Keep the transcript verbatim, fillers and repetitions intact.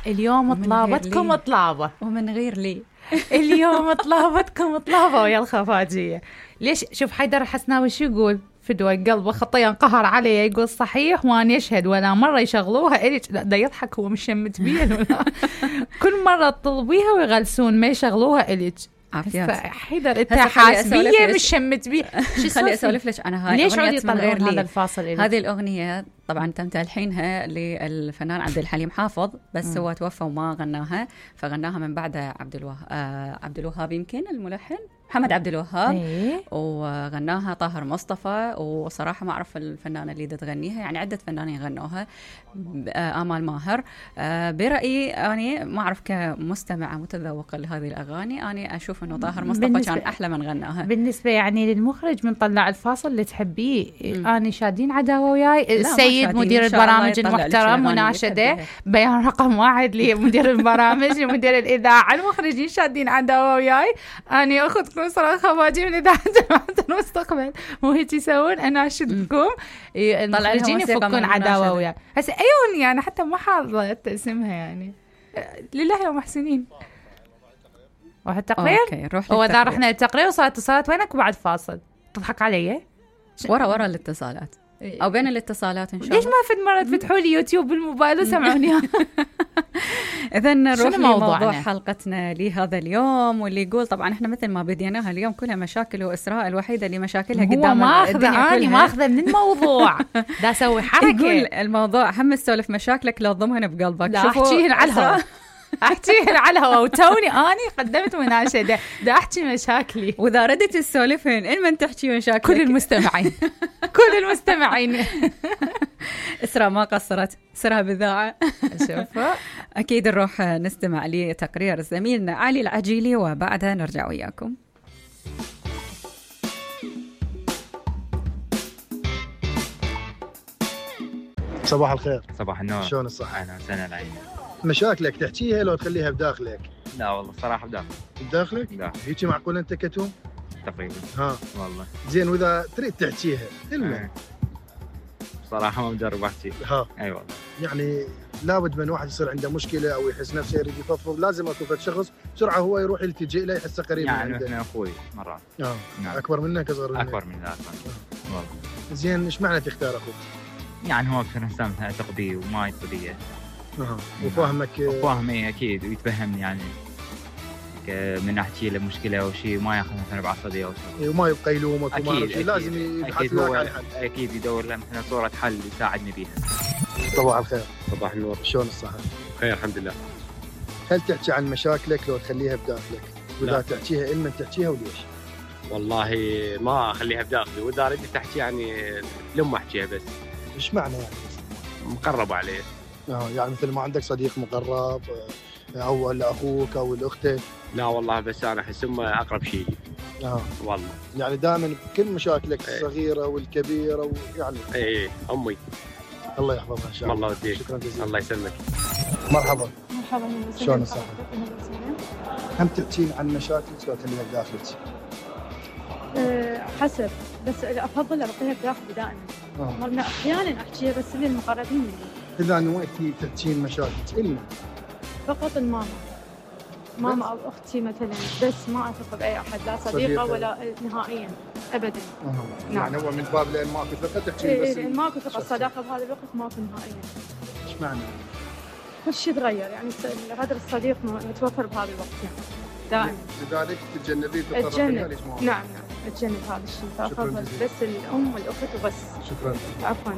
اليوم طلابتكم طلابة ومن غير لي. اليوم طلابتكم طلابة ويا الخفاجية. ليش؟ شوف حيدر الحسناوي شو يقول؟ فدوى قلبه خطية انقهر عليه، يقول صحيح وأنا يشهد ولا مرة يشغلوها إليك. لا دا يضحك، هو مش شمت بيها ولا كل مرة تطلبيها ويغلسون ما يشغلوها إليك. عافيات حيدر انت حاسبية مش شمت بيها. خلي اسولف لك انا هاي ليش اغنيه من غير هذا الفاصل إليك؟ هذه الاغنيه طبعا تم تلحينها للفنان عبد الحليم حافظ، بس م. هو توفى وما غناها، فغناها من بعده عبد الوهاب آه عبد الوهاب يمكن الملحن محمد عبد الوهاب. إيه؟ وغناها طاهر مصطفى، وصراحه ما اعرف الفنانه اللي تغنيها، يعني عده فنانين غنوها. آمال ماهر. آه برايي انا ما اعرف كمستمعه متذوقه لهذه الاغاني، انا اشوف انه طاهر مصطفى كان احلى من غناها. بالنسبه يعني للمخرج من طلع الفاصل اللي تحبيه، انا شادين عداوه وياي السيد مدير البرامج المحترم مناشده بيان رقم واحد لمدير البرامج لمدير الاذاعه، المخرجين شادين عداوه وياي، انا اخذ صراحة خواجي من إذاعة جماعة المستقبل مو هيك يسوون. أنا أشدكم المخرجين يفكون عداوة وياي. هسه أي أغنية أنا حتى ما حاضرت اسمها يعني. لله يا محسنين. واحد تقرير. هو إذا رحنا التقرير وصارت اتصالات وينك بعد فاصل تضحك علي؟ ورا ورا الاتصالات أو بين الاتصالات إن شاء الله. ليش ما فد مرة تفتحوا لي يوتيوب بالموبايل وسمعوني؟ إذا نروح لموضوع حلقتنا لهذا اليوم، واللي يقول طبعا احنا مثل ما بديناها اليوم كلها مشاكل، وإسراء الوحيدة اللي مشاكلها قدام ما أخذ أنا ما أخذ من الموضوع دا أسوي حركة. يقول الموضوع هم تسولف مشاكلك لو ضمهن بقلبك. لا أحكيهن على الهواء احكيهن على الهواء، وتوني اني قدمت مناشده دا احكي مشاكلي، واذا ردت تسولفين ان من تحكي مشاكلك كل المستمعين كل المستمعين. اسراء ما قصرت، سرها بذاعه. شوف اكيد نروح نستمع لتقرير زميلنا علي العجيلي وبعدها نرجع وياكم. صباح الخير. صباح النور. شلون الصحة؟ أهلا وسهلا العين. مشاكلك تحكيها لو تخليها بداخلك؟ لا والله صراحة بداخلك. بداخلك؟ لا. هيك معقول أنت كتوم؟ تقريبا. ها. والله. زين وإذا تريد تحكيها كلمة. أه. صراحة ما مجرب أحكي. ها. أي والله. يعني لابد من واحد يصير عنده مشكلة أو يحس نفسه يريد يفضفض، لازم أكو فد شخص بسرعة هو يروح يلتجئ له يحسه قريب يعني من عنده. يعني مثل أخوي مرات. آه. نعم. أكبر منك أصغر منك؟ أكبر من ذاك. آه. والله. زين إيش معنى تختار أخوك؟ يعني هو أكثر إنسان أثق بيه وما يثق بيه. اها وفاهمك. وفاهمي اكيد ويتفهمني، يعني من احكي له مشكله او شيء ما ياخذ مثلا بعصبيه او شيء، وما يبقى يلومك وما أكيد. أكيد. لازم يبحث لك عن حل. اكيد يدور له مثلا صوره حل يساعدني بيها. صباح الخير. صباح النور. شلون الصحه؟ خير الحمد لله. هل تحكي عن مشاكلك لو تخليها بداخلك؟ واذا تحكيها إلمن تحكيها وليش؟ والله ما اخليها بداخلي، واذا ردت تحكي يعني لما احكيها بس. ايش معنى يعني؟ مقرب عليه. اه يعني مثل ما عندك صديق مقرب او اخوك او الاخت؟ لا والله بس انا احس امه اقرب شيء. اه والله يعني دائما بكل مشاكلك ايه. الصغيره والكبيره ويعني اي امي الله يحفظها ان شاء الله. الله يديك. شكرا جزيلا. الله يسلمك. مرحبا. مرحبا. شلون الصحه؟ هم تحكين عن مشاكلك لو تخليها بداخلك؟ أه حسب، بس افضل ابقيها بداخلي دائما. مرنا احيانا احكيها بس للمقربين مني. اذا نويتي تحكين مشاكلك إلنا فقط الماما ماما او اختي مثلا، بس ما اثق باي احد، لا صديقه صديقة. ولا نهائيا ابدا. أه. نعم. يعني هو من باب لان ماكو ثقه تحكين إيه بس إيه ماكو ثقه، الصداقه بهذا الوقت ماكو نهائيا. ايش معنى؟ كل شيء تغير، يعني هذا الصديق متوفر بهذا الوقت يعني دائما. لذلك تتجنبين تتجنب. نعم نعم اتجنب هذا الشيء، فافضل بس الام والاخت وبس. شكرا. عفوا.